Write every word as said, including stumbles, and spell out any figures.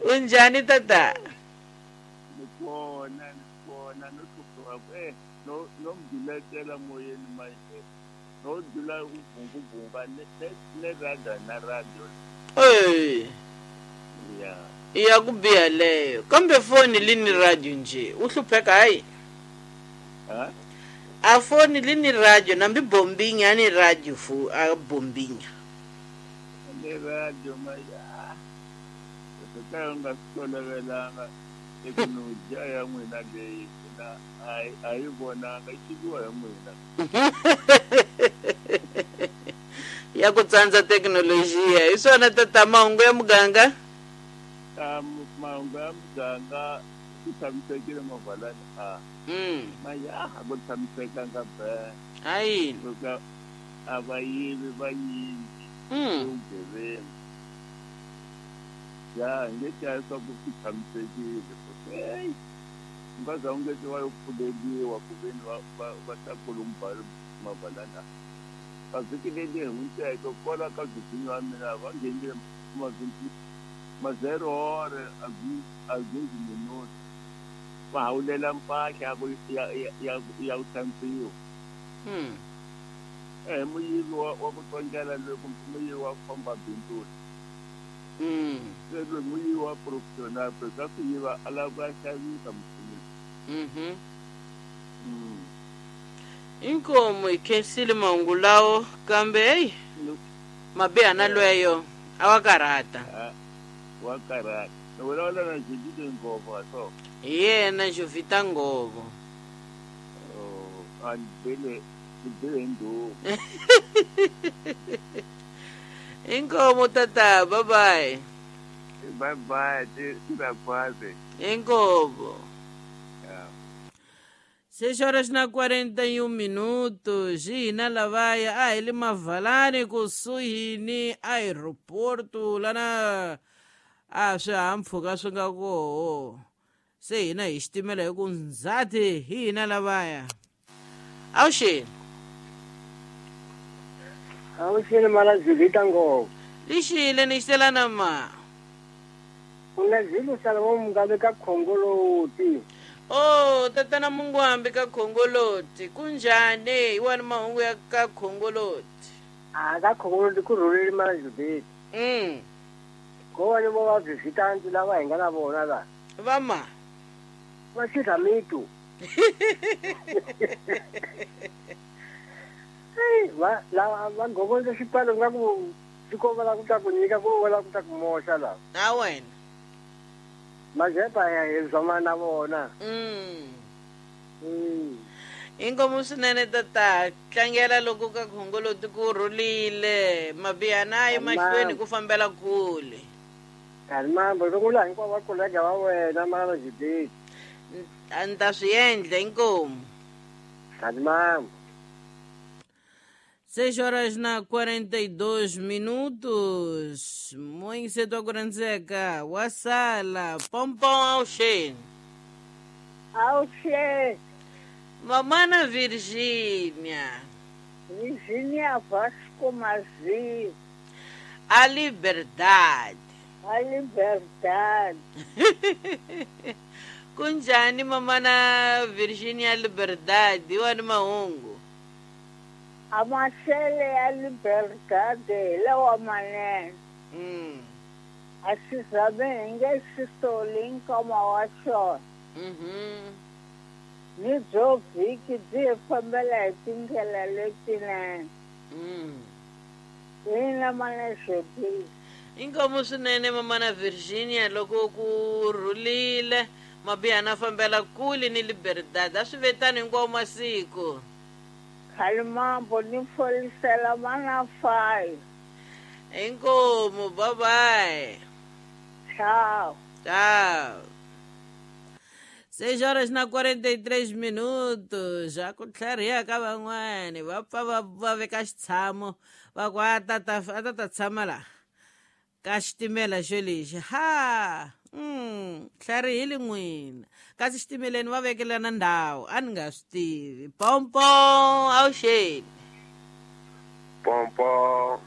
Unjani tata? Nikhona nikhona nokuba eh no nomduletela moyeni manje. No dula ubhungubhunga ne ne radio na radio. Hey. Yeah. Iyakubiha leyo. Kambe foni lini radio nje? Uhlupheka hayi. Ha? A foni lini radio nambi bombinya ni radio fu a bombinya. Ne radio maya. Seka nga tolovelanga teknolojia ya n'wina leyi na a yi vonanga yi tiviwa hi n'wina. Ya ku tsandza teknolojia hi swona tata mahungu ya muganga? Ta mahungu ya muganga ku tshamisekile mavalani a. Mm. Maya a ku tshamisekanga be. Hayi. Loko a va yivi va nyingi. Mm. Vugevenga. Ya nge tya swa ku ku tshamisekile. Hey. Nga u nge wa yo pfuleliwa ku veni va va va ta kulumba mavalana. Ka vhiki leri hundzeke kwala ka vhiki wa mina va nghenile mavhiki ma zero hore a a gezi minuto va hawulela mpahla ya ku ya ya ya ku hlantswiwa. Mm. Eh muyivi wa wa ku tsongela loyi kumbe muyivi wa ku famba bindzu. Mm. Se loyi muyivi wa professional ka ku yiva a lava ku ya xavisa muchini. Mhm. Mm. Inkomo ikhensile mahungu lawo kambe hey mabiha na lweyo a wa karhata. Wa karhata. Ni vulavula na Judith Nghovo so. Hi yena Jovita Nghovo. Oh, a ni bele ni bele ndhuku. Inkomo tata, bye bye. Bye bye, ti ra kwaze. Inkomo. Yeah. Seis horas na quarenta e um minutos. Hina lavaya a hi le Mavalani kusuhi ni aeroporto lana a swihahampfhuka swi nga koho. Se hina hi xitimela hi ku ndzhati hi hina lavaya. Awuxeni. Awuxeni mala Judita Nghovo. Lixile ni xitelana ma. Una Zulu Salomon Mugabe ka Khongoloti. Oh, tatana Mungwambi ka Khongoloti. Kunjani? Hi wani mahungu ya ka Khongoloti? A ka Khongoloti ku rhulile mala Judita. Mm. Ko va ni vo va visitanti lava hi nga na vona la. Va ma? Va xidla mitu. Hey, va lava va gogondza xipano nga ku swi komba la ku ta ku nyika ku va la ku ta ku moxa la. A wena. Majepa ya hi zama na vona. Mm. Mm. Inkomu swinene tata, tlangela loko ka Khongoloti ku rhulile, mabiha na yi mahlweni ku fambela kule. Kalimambo loko la hinkwavo va kolega va wena mala Judith. A ni ta swi endla inkomu. Kalimambo. Seis horas na quarenta e dois minutos. Muito cedo a wa sala. Pompom auxê. Auxê. Mamana Virgínia. Virgínia Vasco Mazi. A liberdade. A liberdade. Kunjani mamana Virgínia Liberdade, wani mahungu. Amasele ya liberdade lawa manene. Mm. A xi zabe hi nge xi soli nkama wa xona. Mhm. Ni byo vhiki byi hi fambela hi tindlela letinene. Mm. Hina mana Judith. Inkomu swinene mamana Virginia loko ku rhulile mabiha na fambela kule ni liberdade a swi vetani hinkwawo masiku. Kalimambo ni folisela mana five. Inkomu, bye bye. Tchau. Tchau. Seis horas na quarenta e três minutos. Já ku tlhariha ka van'wani va pfa va va veka xitshamo va ku a ta ta a ta ta tshama la ka xitimela xo lexi ha. Mm, tlharihile n'wina kasi xitimeleni va vekelana ndhawu a ni nga swi tivi. Pompom awuxeni. Pompom.